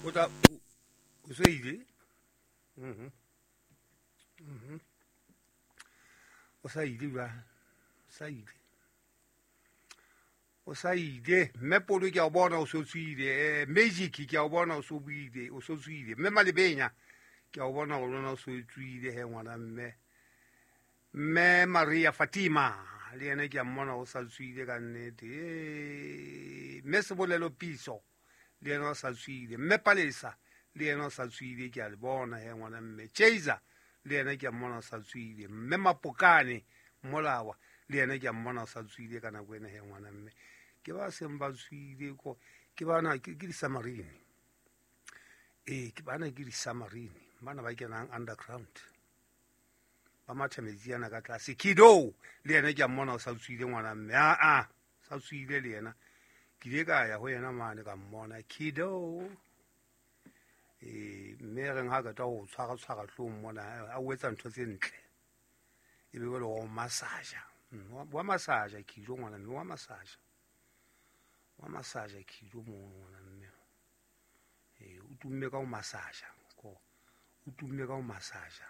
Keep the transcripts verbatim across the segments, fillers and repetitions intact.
O tla o se ile. Mhm. Mhm. O sa ile ba. Sa ile. O sa ile mme Polo ke a o bona o so tswile, Magic ke a o bona o so buile, o so tswile. Mme Malebenya ke a o bona o lona o so tswile he ngwana mme. Mme Maria Fatima le yena ke a mmona o sa tswile ka nnete. Eh mme Sebolelo Piso le yena o sa tswile. Mme Palesa le yena o sa tswile ke a le bona he ngwana mme. Chaser le yena ke a mmona o sa tswile. Mme Mapokane Molawa le yena ke a mmona o sa tswile ka nako ena he ngwana mme. Ke ba seng ba tswile ko ke bana ke ke di-submarine. Ee ke bana ke di-submarine bana ba kenang underground ba matha metsi ana ka tlase. Kido le yena ke a mmona o sa tswile ngwana mme. A a sa tswile le yena ke ile ka ya ho yena mane ka mmona Kido. Eh mme reng ha ka tla ho tshwara tshwara hlong mona a o etsa ntho tse ntle e be le o massage wa massage Kido ngwana mme wa massage wa massage Kido mo ngwana mme. Eh o tumme ka o massage ko o tumme ka o massage.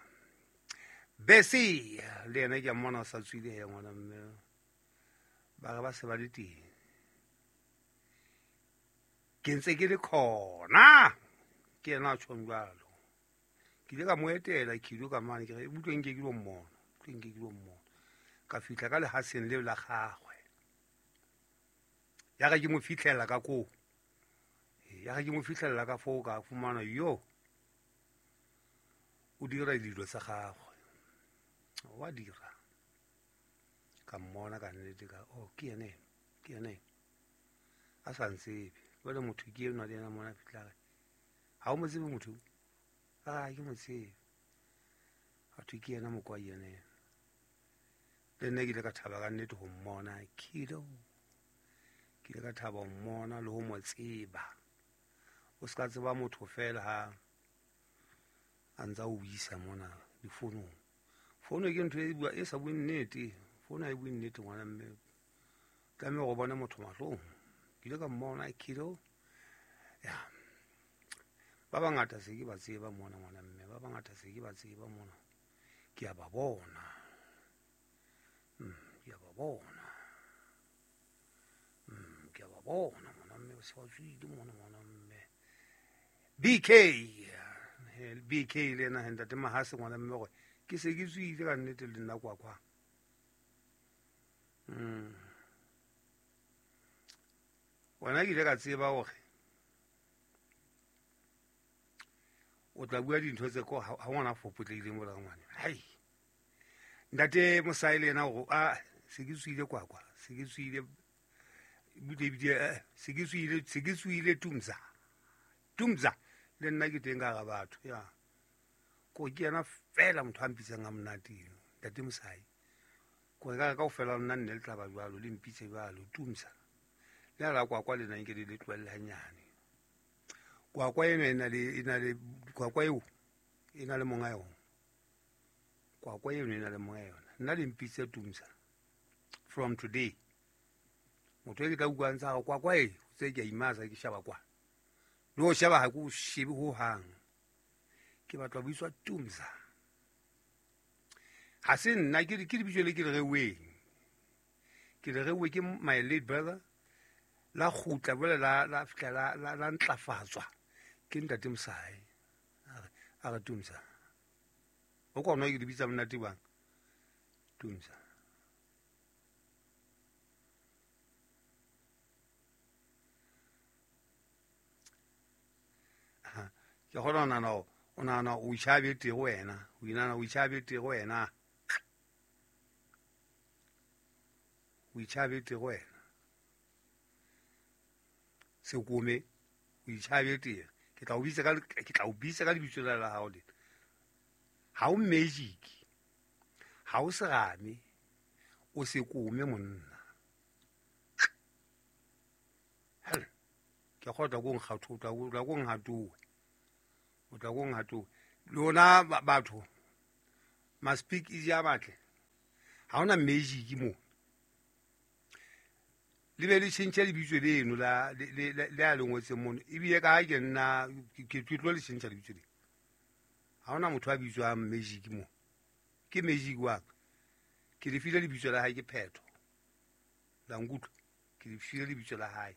Besi le yena ke a mmona o sa tswile he ngwana mme. Ba re ba se ba le teng. Ke ntse ke le khona. Ke yena a tjhong jwalo. Ke ile ka mo etela Kido ka mane ke re utlwe nke ke lo mmona, utlwe nke ke lo mmona. Ka fihla ka lehaseng leo la gagwe. Ya re ke mo fihlela ka koo. Ya re ke mo fihlela ka foo ka fumana yo o dira dilo tsa gagwe. Wa dira. Ka mmona ka nnete ka oh ke yena eno, ke yena eno. A sa ntsebe. Jwale motho ke enwa le yena mona fihla re ha o mo tsebe motho? Ah ke mo tsebe. Batho ke yena mokwai yena eno. Le nna ke ile ka thaba ka nnete ho mmona Kido. Ke ile ka thaba ho mmona le ho mo tseba. O ska tseba motho fela ha a ntsa o buisa mona difonong. Fono ke ntho e bua e sa bue nnete. Fono ha e bue nnete ngwana mme. Tlameha go bona motho mahlong. Ke ile ka mmona Kido. Ya. Ba bangata se ke ba tseba mona ngwana mme. Ba bangata se ke ba tseba mona. Ke a ba bona. Mm, ke a ba bona. Mm, ke a ba bona ngwana mme se ba tswile mona ngwana mme. B K B K le yena ntate Mahase ngwana mme gore ke se ke tswile ka nnete le nna kwa kwa. Mm. Wena ke ile ka tseba hore o tla bua dintho tse ko ha ngwana fopotlehile mola ngwana. Hai. Ntate Mosai le yena hore a se ke tswile kwa kwa, se ke tswile bude bide se ke tswile se ke tswile Tumza. Tumza le nna ke teng ka ga batho ya. Ko ke yena fela motho a mpitsang a monate eno, ntate Mosai. Ko ka ka ofela nna nne le tla ba jwalo le mpitse jwalo Tumza. Le la kwa kwa le nna nke le le tlohelle hanyane. Kwa kwa eno e na le e na le kwa kwa eo e na le monga yona. Kwa kwa eno e na le monga yona. Nna le mpitse Tumza from today. Motho e ke tla utlwang tsa kwa kwa e tse ke a imasa ke shaba kwa. Le ho shaba ha ke o shebe ho hang. Ke batla ho buiswa Tumza. Ha se nna ke ke lebitso le ke le reuweng. Ke le reuwe ke my late brother. La kgutla jwale la la fihla la la la ntlafatswa ke ntate Mosai. A re a re Tumza. O kona ke lebitsa monate bang. Tumza. Ke kgona ho nahana hore o nahana o itjhabete go wena, o inahana o itjhabete go wena. O itjhabete go wena. Sekome o itjhabete. Ke tla o bitsa ka ke tla o bitsa ka lebitso la la hao lena. Ha o magic. Ha o serame. O sekome monna. Hell. Ke kgotla go nkgatho, tla go tla go nkgatowe. O tla go nkgatowe. Lona batho ma speak easy a batle. Ha ona magic mo. Le be le tjhentjhe lebitso leno la le le a le ngotseng mono. Ebile ka ha ke nna ke tlo le tjhentjha lebitso le. Ha hona motho a bitswang Magic mo. Ke Magic wa ka. Ke le file lebitso la hae ke Phetho. La nkutlwa. Ke le file lebitso la hae.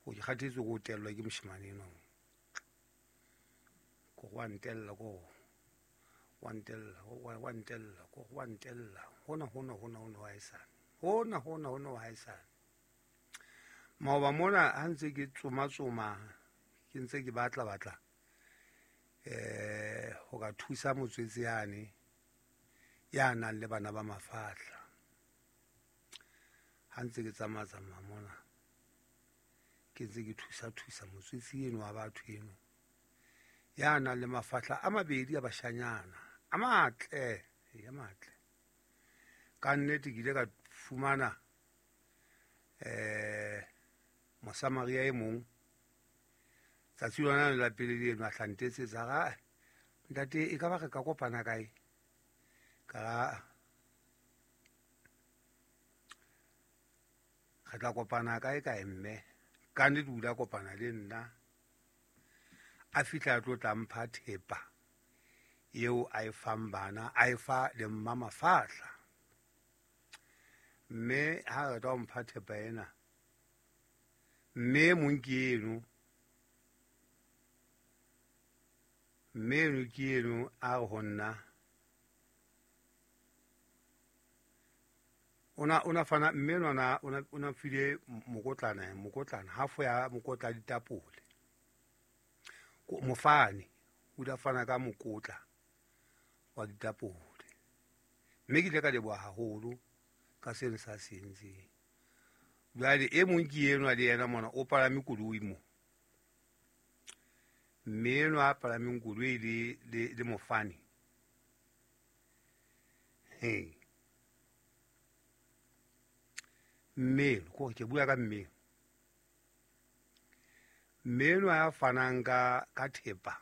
Go ke kgathetse go tellwa ke moshemane enwa. Ko go ntella ko. Wa ntella, wa ntella, ko wa ntella. Hona hona hona hona wa esana. Hona hona hona wa esana. Maoba mona ha ntse ke tsoma tsoma, ke ntse ke batla batla. Eh ho ka thusa motswetse yane ya nang le bana ba mafahla. Ha ntse ke tsamaya tsamaya mona, ke ntse ke thusa thusa motswetse eno wa batho eno ya nang le mafahla a mabedi a bashanyana a matle, a matle. Ka nnete ke ile ka fumana eh Mosamaria e mong tsatsi lona la pele le eno a hlantetsetsa ga ntate e ka ba re ka kopana kae ka re tla kopana kae kae mme ka nnete o ile a kopana le nna a fihla a tlo tla mpha thepa eo a e fang bana a e fa le mma mafahla mme ha re tla mpha thepa ena mme mong ke eno mme eno ke eno a re ho nna ona ona fana mme nona ona ona file mokotlana mokotlana half ya mokotla ditapole mofane o da fana ka mokotla wa ditapole mme ke ile ka leboha haholo ka seno sa se entseng. Jwale e mong ke enwa le yena mona o palame koloi mo mme enwa a palameng koloi le le le mofane he mme ko ke bua ka mme mme enwa ya fanang ka ka thepa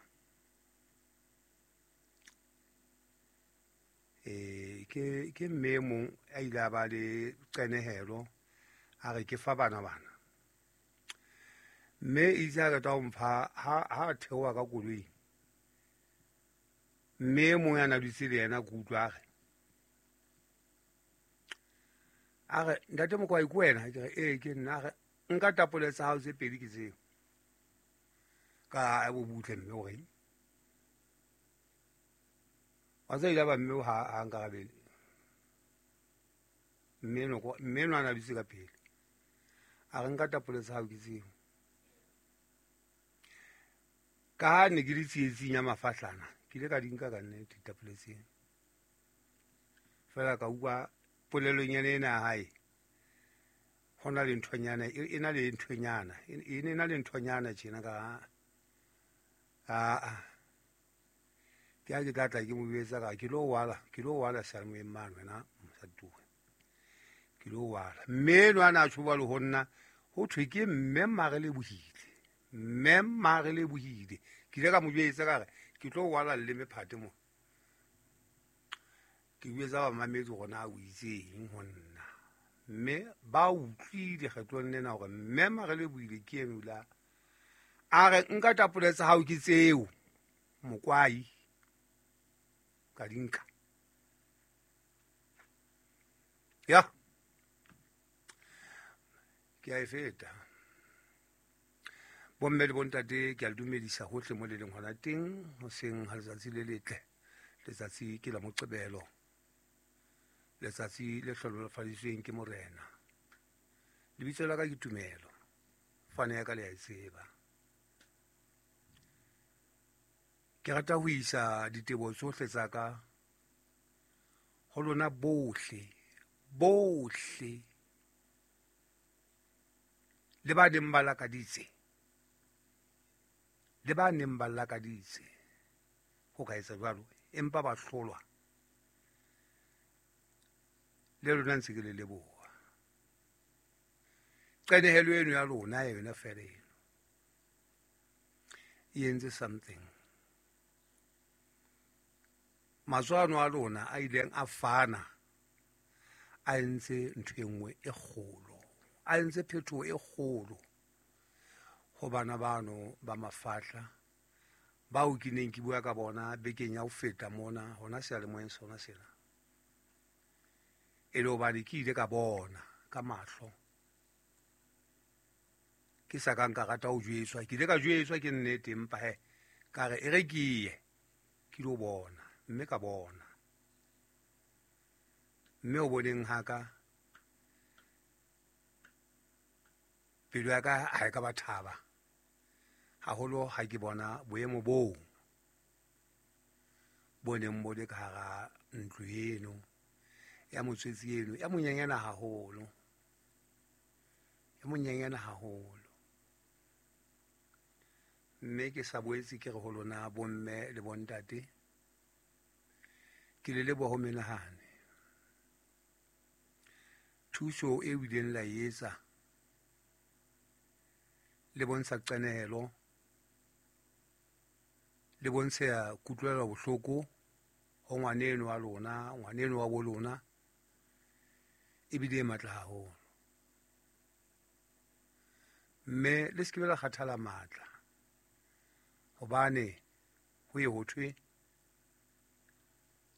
eh ke ke mme mong a ile a ba le qenehelo a re ke fa bana bana mme itse a rata ho mpha ha ha theoha ka koloi mme mong ya na dutse le yena ke utlwa a re a re ntate Mokwai ke wena ke re ee ke nna a re nka tapole tsa hao tse pedi ke tseo ka bo butle mme o reng wa tseba ile ba mme ha ha nkarabele mme no ko mme no ana dutse ka pele a re nka tapole tsa hao ke tseo ka ha ne ke le tsietsing ya mafahlana ke ile ka di nka ka nnete ditapole tseo fela ka utlwa polelonyana ena ya hae ho na le nthonyana e na le nthonyana e ne na le nthonyana tjena ka a ke a ke tla tla ke mo betsa ka ke lo wala ke lo wala seyalemoyeng mane wena mosadi ke lo wala mme enwa a tjho jwalo ho nna ho thwe ke mme Marelebohile mme Marelebohile ke ile ka mo jwetsa ka re ke tlo wala leleme phate mo ke jwetsa bamamedi hore na o itseng ho nna mme ba utlwile kgetlong lena hore mme Marelebohile ke eno la a re nka tapole tsa hao ke tseo Mokwai ka di nka ya ke a e feta. Bomme le bontate ke a le dumedisa hohle mo le leng hona teng hoseng ha letsatsi le letle letsatsi ke la Moqebelo letsatsi le hlohonolofaditsweng ke Morena. Lebitso la ka ke Tumelo fane ya ka le a e tseba. Ke rata ho isa diteboho tsohle tsa ka ho lona bohle bohle le ba neng ba lakaditse le ba neng ba lakaditse ho ka etsa jwalo empa ba hlolwa le lona ntse ke le leboha. Qenehelo eno ya lona yona fela eno e entse something. Matswano a lona a ileng a fana A entse ntho e nngwe e kgolo, a entse phetoho e kgolo ho bana bano ba mafahla bao ke neng ke bua ka bona bekeng ya ho feta mona hona seyalemoyeng sona sena. E le hobane ke ile ka bona ka mahlo, ke sa ka nka rata ho jwetswa, ke ile ka jwetswa ke nnete, empa he ka re e re ke ye ke lo bona, mme ka bona. Mme o boneng haka pelo ya ka ha e ka ba thaba haholo ha ke bona boemo boo bo neng bo le ka hara ntlo eno ya motswetsi eno ya monyenyana haholo, ya monyenyana haholo. Mme ke sa boetse ke re ho lona bomme le bontate, ke le leboha ho menahane thuso e ileng la etsa le bontsha qenehelo, le bontsha kutlwelo bohloko ho ngwaneno wa lona, ngwaneno wa bo lona, ebile e matla haholo. Mme le se ke la kgathala matla, hobane ho ye ho thwe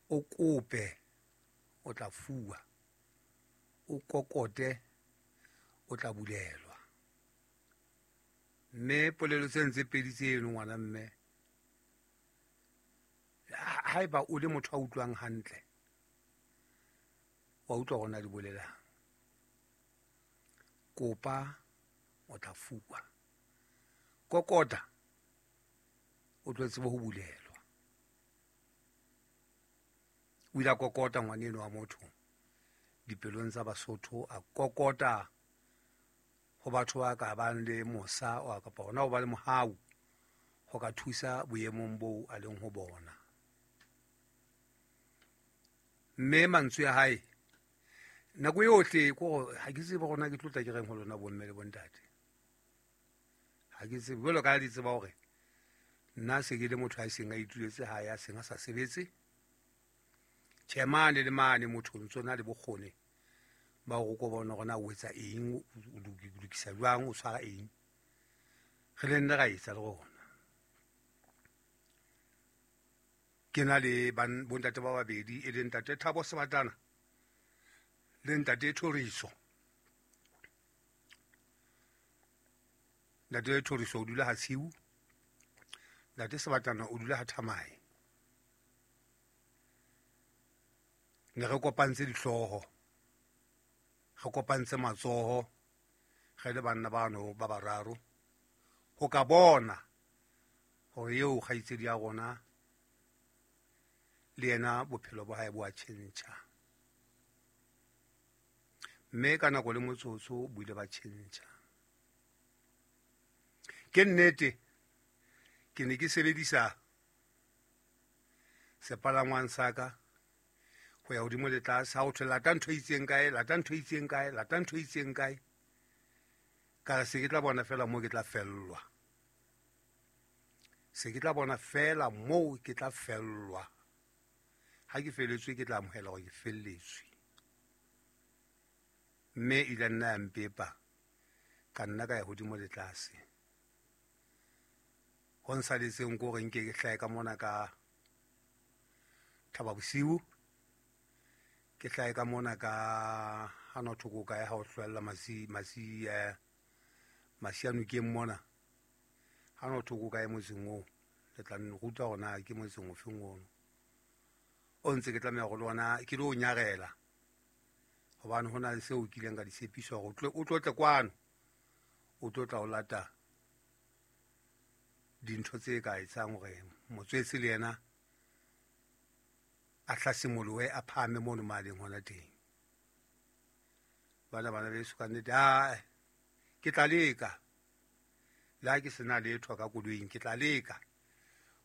o kope o tla fuwa, o kokote o tla bulelwa. Mme polelo tse ntse pedi tseno ngwana mme, haeba o le motho a utlwang hantle, wa utlwa hore na di bolelang. Kopa o tla fuwa, kokota o tlo tseba ho bulelwa. O ile a kokota ngwaneno wa motho dipelong tsa Basotho, a kokota ho batho ba ka bang le mosa kapa hona ho ba le mohau ho ka thusa boemong boo a leng ho bona. Mme mantswe a hae nako yohle ko ha ke tsebe hore na ke tlotla ke reng ho lona bomme le bontate, ha ke tsebe jwalo ka di tseba hore nna se ke le motho a seng a ituletse hae, a seng a sa sebetse. Tjhe, mane le mane motho o ntso na le bokgoni ba hore o ko bona hore na o etsa eng, o lokisa jwang, o tshwara eng. Re le nne ra etsa le rona. Ke na le bontate ba babedi, e leng ntate Thabo Sebatana le ntate Thoriso. Ntate Thoriso o dula ha Tshiu, ntate Sebatana o dula ha Thamae. Ne re kopantse dihlooho, re kopantse matsoho, re le banna bano ba bararo ho ka bona hore eo kgaitsedi ya rona le yena bophelo ba hae bo a tjhentjha. Mme ka nako le motsotso bo ile ba tjhentjha. Ke nnete ke ne ke sebedisa sepalangwang sa ka ho ya hodimo le tlase, ha ho thwe lata ntho e itseng kae, lata ntho e itseng kae, lata ntho e itseng kae. Ka re se ke tla bona feela moo ke tla fellwa, se ke tla bona feela moo ke tla fellwa. Ha ke felletswe ke tla amohela hore ke felletswe. Mme ile nna ya mpepa, ka nna ka ya hodimo le tlase. Ho nsaletseng ko hore nke ke hlahe ka mona ka Thaba Bosiu, ke hlahe ka mona ka hana thoko kae ha o hlwella masi masi eh masianokeng mona, hana thoko kae motseng oo, le tla nruta hore na ke motseng ofeng ono o ntse ke tlameha go le ona ke lo nyarela, hobane ho na le seo ke ileng ka di tshepiswa hore o tlo tle kwano, o tlo tla o lata dintho tse ka etsang hore motswetse le yena a hlasimolohe, a phahame mono maleng hona teng. Bana bana beso ka nnete, a ke tla leka le ha ke sena letho ka koloing, ke tla leka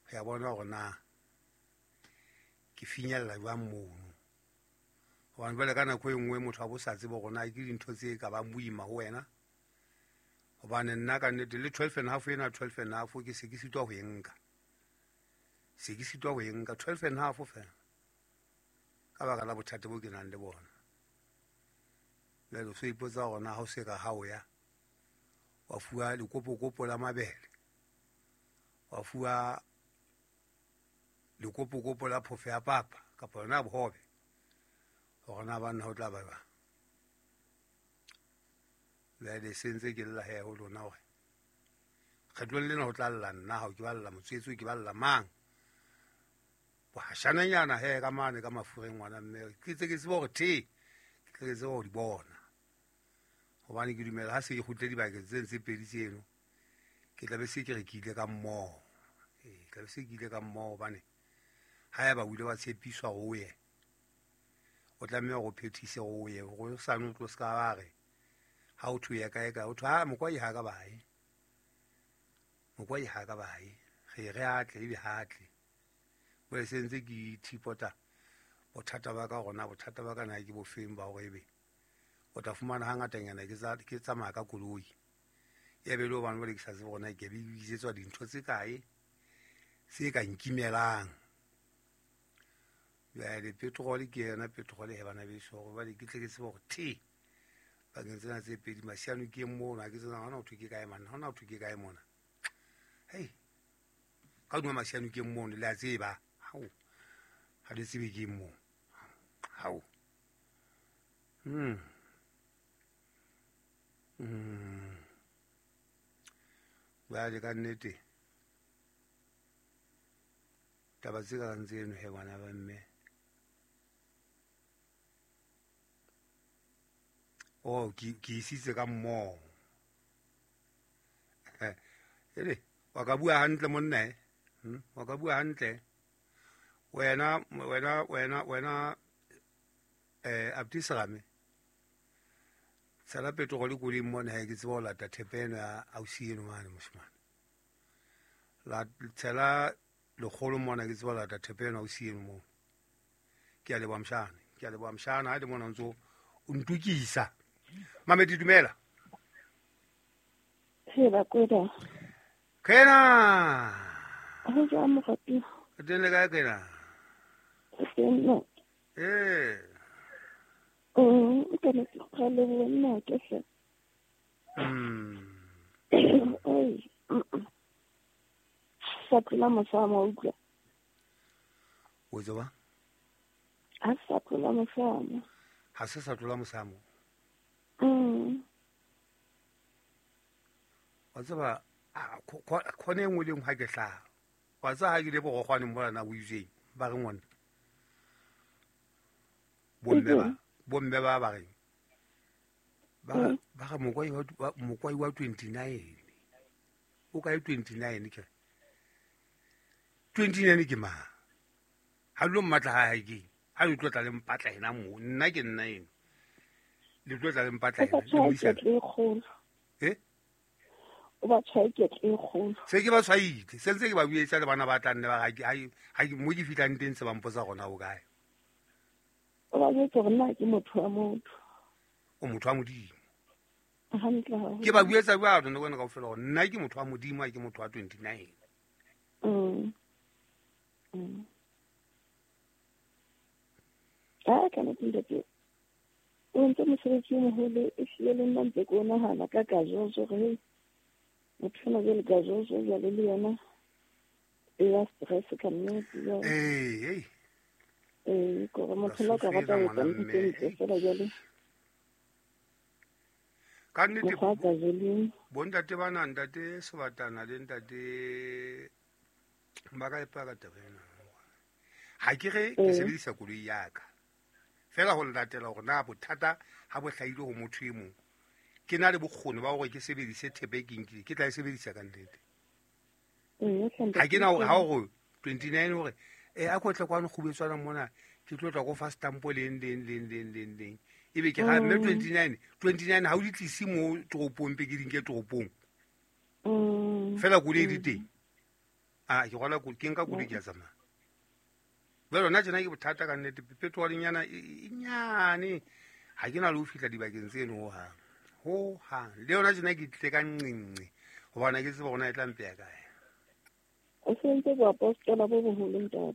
ho ya bona hore na ke finyella jwang mono. Hobane jwale ka nako e nngwe motho a bo sa tsebe hore na ke dintho tse ka bang boima ho wena. Hobane nna ka nnete le twelve and half ena, twelve and half ke se ke sitwa ho e nka, se ke sitwa ho e nka twelve and half fela ka baka la bothata bo ke nang le bona. Jwale o so ipotsa hore na ha o se ka ha o ya wa fuwa lekopokopo la mabele, wa fuwa lekopokopo la phofo ya papa kapa yona bohobe, hore na banna ho tla ba jwang. Jwale se ntse ke lla he ho lona hore kgetlong lena ho tla lla nna, ha ke ba lla motswetse, ke ba lla mang. Bohashananyana he ka mane ka mafureng ngwana mme, ke tse ke tsebe hore the ke tle ke tsebe ho di bona. Hobane ke dumela ha se ke kgutle dibakeng tse ntse pedi tseno, ke tla be se ke re ke ile ka mmoho. Ee, ke tla be se ke ile ka mmoho hobane ha eba o ile wa tshepiswa ho ye, o tlameha hore o phethise ho ye, hore o sane o tlo ska ba re ha o thwe ya kae kae, o thwe ha mokwai ha ka bae, mokwai ha ka bae, re re atle ebe ha tle. Jwale se ntse ke ithipota bothata ba ka hore na bothata ba ka na ke bofeng ba hore ebe o tla fumana hangatanyana ke tsa ke tsamaya ka koloi. Ya be le hobane jwale ke sa tsebe hore na ke be ke bitsetswa dintho tse kae tse ka nkimelang. Jwale petrol ke yona petrol he bana beso, hore jwale ke tle ke tsebe hore the bakeng tsena tse pedi masiano ke mona, ha ke tsena hona ho thwe ke kae mane, hona ho thwe ke kae mona. Hei, ka hodima masiano ke mono, le a tseba. Hao, ha le tsebe ke moo. Hao. Hmm. Hmm. Jwale ka nnete taba tse kang tseno he bana ba mme. Oh, ke ke isitse ka mmoho. Ele, wa ka bua hantle monna eh? Hmm? Wa ka bua hantle. Wena, wena, wena, wena, eh, Abdiserame. Tshela petrol koloing mona he ke tsebe ho lata thepa eno ya ausi eno mane moshemane. La tshela lekgolo mona ke tsebe ho lata thepa eno ausi eno moo. Ke a leboha mshana, ke a leboha mshana ha le mona o ntso o ntukisa. Mamedi dumela. He ba kweda. Kena. Ho jwang morati? O teng le kae kena? Teng no. Eh. Mm, ke ne ke kgale ho nna ke hle. Mm. Oi. Sa tlola mosamo utlwa. O tseba? Ha sa tlola mosamo. Ha se sa tlola mosamo. Mm. Wa tseba khone engwe le engwe ha ke hlaha. Wa tseba ha ke le borogwane mona na o itseng ba re ngwana. Bomme ba bomme ba ba reng. Ba ba re mokwai wa mokwai wa twenty-nine. O kae twenty-nine ke? twenty-nine ke mang? Ha lo mmatla ha ha ke. Ha le tlo tla le mpatla ena mo. Nna ke nna eno. Le tlo tla le mpatla ena. Le buisana. Eh? O ba tshwae ke e kgolo. Se ke ba tshwaile. Se ntse ke ba buetsa le bana ba tla nne ba ga ha ke mo ke fitlang teng se ba mpotsa gona o kae. O ba jwetse hore nna ke motho wa motho. O motho wa Modimo. Hantle haholo. Ke ba buetsa jwalo nna wena kaofela hore nna ke motho wa Modimo, ha ke motho wa twenty-nine. Mm. Mm. Ah, ka nete ntate. O ntse mosebetsi o moholo e hlile le nna ntse ke o nahana ka kajojo hore motho ona jwale kajojo jwale le yona e ya stress ka nnete jwale. Ee, ee. Ee, kore motho la ka rata ho etsa ntho tse ntle fela jwale. Ka nnete Mokgwa wa kajeno. Bontate bana, ntate Sebatana le ntate ba ka ipaka taba ena. Ha ke re ke sebedisa koloi ya ka. Fela ho latela hore na bothata ha bo hlahile ho motho e mong. Ke na le bokgoni ba hore ke sebedise thepa e ke nkile, ke tla e sebedisa ka nnete. Ha ke na hore ha hore twenty-nine hore eh a ko tle kwano kgubetswana mona ke tlo tla go fa stamp leng leng leng leng leng leng. Ebe ke ga mme twenty-nine twenty-nine ha o di tlise mo toropong pe ke di nke toropong. Fela koloi di teng. Ah ke rwala koloi, ke nka koloi ke a tsamaya. Jwale hona tjena ke bothata ka nnete, petrol nyana e nyane. Ha ke na le ho fihla dibakeng tseno hohang. Hohang. Le yona tjena ke tle ka nqenqe hobane ke tseba hore na e tla mpeya kae. O sentse boapostola bo boholo ntate.